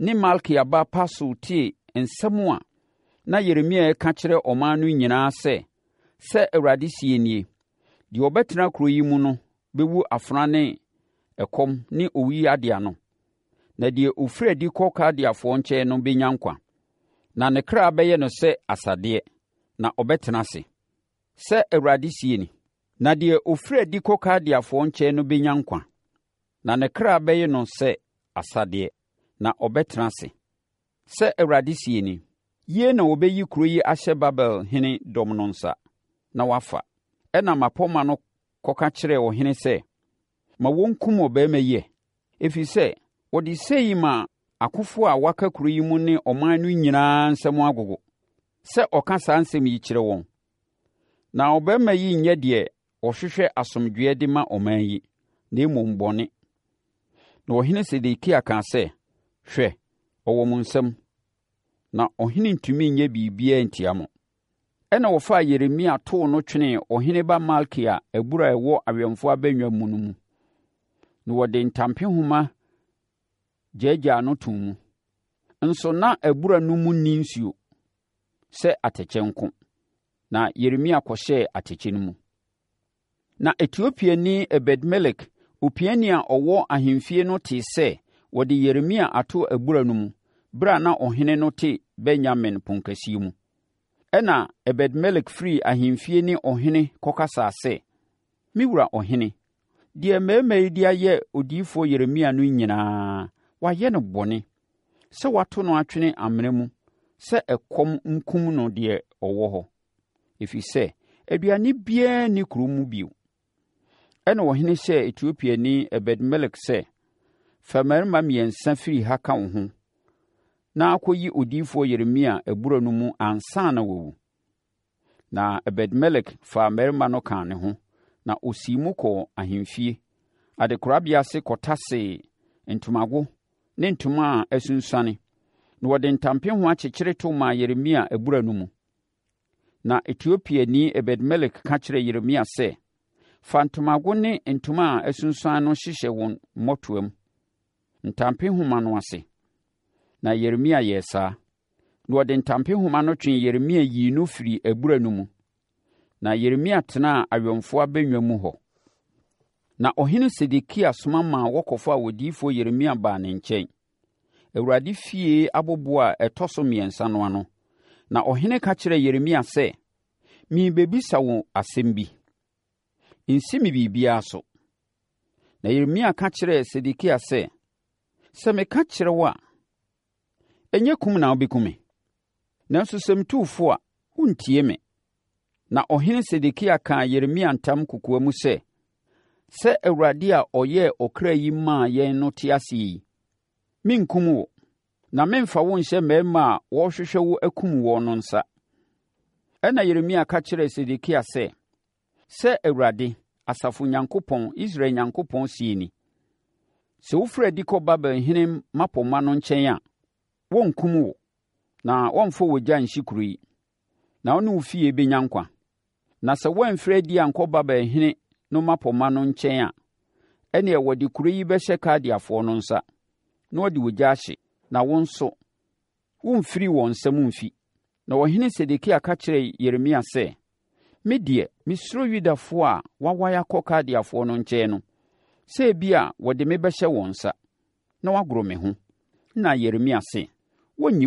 ne Malkia ba Pasur tee nsɛm a na Yeremia reka kyerɛ ɔman no nyinaa sɛ, Sɛ Awurade seɛ nie, Deɛ ɔbɛtena kuro yi mu no bɛwu afena ne ɛkɔm ne owuyadeɛ ano, na deɛ ɔfiri adi kɔ Kaldeafoɔ nkyɛn no bɛnya nkwa, na ne kra bɛyɛ no sɛ asadeɛ, na ɔbɛtena ase. Sɛ Awurade seɛ ni. Na deɛ ɔfiri adi kɔ Kaldeafoɔ nkyɛn no bɛnya nkwa, na ne kra bɛyɛ no sɛ asadeɛ, na ɔbɛtena ase. Sɛ Awurade seɛ ni, Yie na wɔbɛyi kuro yi ahyɛ Babel hene dɔm no nsa, na wɔafa. Ɛnna mmapɔmma no kɔka kyerɛɛ ɔhene sɛ, Ma wɔnkum ɔbarima yi ɛ, ɛfiri sɛ ɔde sei ma akofoɔ a wɔaka kuro yi mu ne ɔman no nyinaa nsam agogo, sɛ ɔka saa nsɛm yi kyerɛ wɔn. Na ɔbarima yi nyɛ deɛ ɔhwehwɛ asomdwoeɛ de ma ɔman yi, na mmom bɔne. Na ɔhene Sedekia kaa sɛ, Hwɛ, ɔwɔ mo nsam, na ɔhene ntumi nyɛ biribiara ntia mo. Ɛnna wɔfaa Yeremia too no twenee ɔhene ba Malkia abura a ɛwɔ awɛmfoɔ abannwa mu no mu, na wɔde ntampehoma gyaagyaa no too mu. Nso na abura no mu nni nsuo sɛ atɛkyɛ nko, na Yeremia kɔhyɛɛ atɛkyɛ no mu. Na Etiopiani Ebed-Melek, opiani a ɔwɔ ahemfie no tee sɛ wɔde Yeremia ato abura no mu berɛ a na ɔhene no te Benyamin ponkɛseɛ mu. Ɛnna Ebed-Melek firii ahemfie ne ɔhene kɔkasaa sɛ, Me wura ɔhene, deɛ mmarima yi de ayɛ odiyifoɔ Yeremia no nyinaa, wɔayɛ no bɔne, sɛ wɔato no atwene amena mu sɛ ɛkɔm nkum no deɛ ɔwɔ hɔ. ɛfiri sɛ aduane biara nni kuro mu bio. Ɛnna ɔhene hyɛɛ Etiopiani Ebed-Melek sɛ, Fa mmarima mmiɛnsa firi ha ka wo ho na kɔyi odiyifoɔ Yeremia abura no mu ansa na wawu. Na Ebed-Melek faa mmarima no kaa ne ho, na ɔsii mu kɔɔ ahemfie adekorabea ase kɔtasee ntomago ne ntoma a asunsuane, na wɔde ntampehoma kyekyere to maa Yeremia abura no mu. Na Etiopiani Ebed-Melek ka kyerɛɛ Yeremia sɛ, Fa ntomago ne ntoma a asunsuan no hyehyɛ wo mmɔtoam, ntampehoma no ase. Na Yeremia yɛɛ saa. Na wɔde ntampehoma no twee Yeremia yii no firii abura no mu. Na Yeremia tenaa awɛmfoɔ abannwa mu hɔ. Na ɔhene Sedekia soma maa wɔkɔfaa odiyifoɔ Yeremia baa ne nkyɛn. Awurade fie aboboɔ a ɛtɔ so mmiɛnsa no ano. Na ɔhene ka kyerɛɛ Yeremia sɛ, Merebɛbisa wo asɛm bi. Nsi me biribiara so. Na Yeremia ka kyerɛɛ Sedekia sɛ, Sɛ meka kyerɛ wo a, ɛnyɛ kum na wobɛku me. Nanso sɛ metu wo fo a, worentie me. Na ɔhene Sedekia kaa Yeremia ntam kokoa mu sɛ, Sɛ Awurade a ɔyɛɛ ɔkra yi maa yɛn no te ase yi, merenkum wo, na meremfa wo nhyɛ mmarima a wɔrehwehwɛ wo akum woɔ no nsa. Ɛnna Yeremia ka kyerɛɛ Sedekia sɛ, Sɛ Awurade, asafo Nyankopɔn, Israel Nyankopɔn seɛ ni, 'Sɛ wofiri adi kɔ Babel hene mmapɔmma no nkyɛn a, wɔrenkum wo, na wɔremfa ogya nhye kuro yi, na wo ne wo fie bɛnya nkwa. Na sɛ woamfiri adi ankɔ Babel hene no mmapɔmma no nkyɛn a, ɛnneɛ wɔde kuro yi bɛhyɛ Kaldeafoɔ no nsa, na wɔde ogya ahye, na wo nso, woremfiri wɔn nsam mfi. Na ɔhene Sedekia ka kyerɛɛ Yeremia sɛ, Me deɛ, mesuro Yudafoɔ a wɔawae akɔ Kaldeafoɔ no nkyɛn no, sɛ ebia wɔde me bɛhyɛ wɔn nsa, na wɔagoro me ho. Ɛnna Yeremia se, Wɔrenyi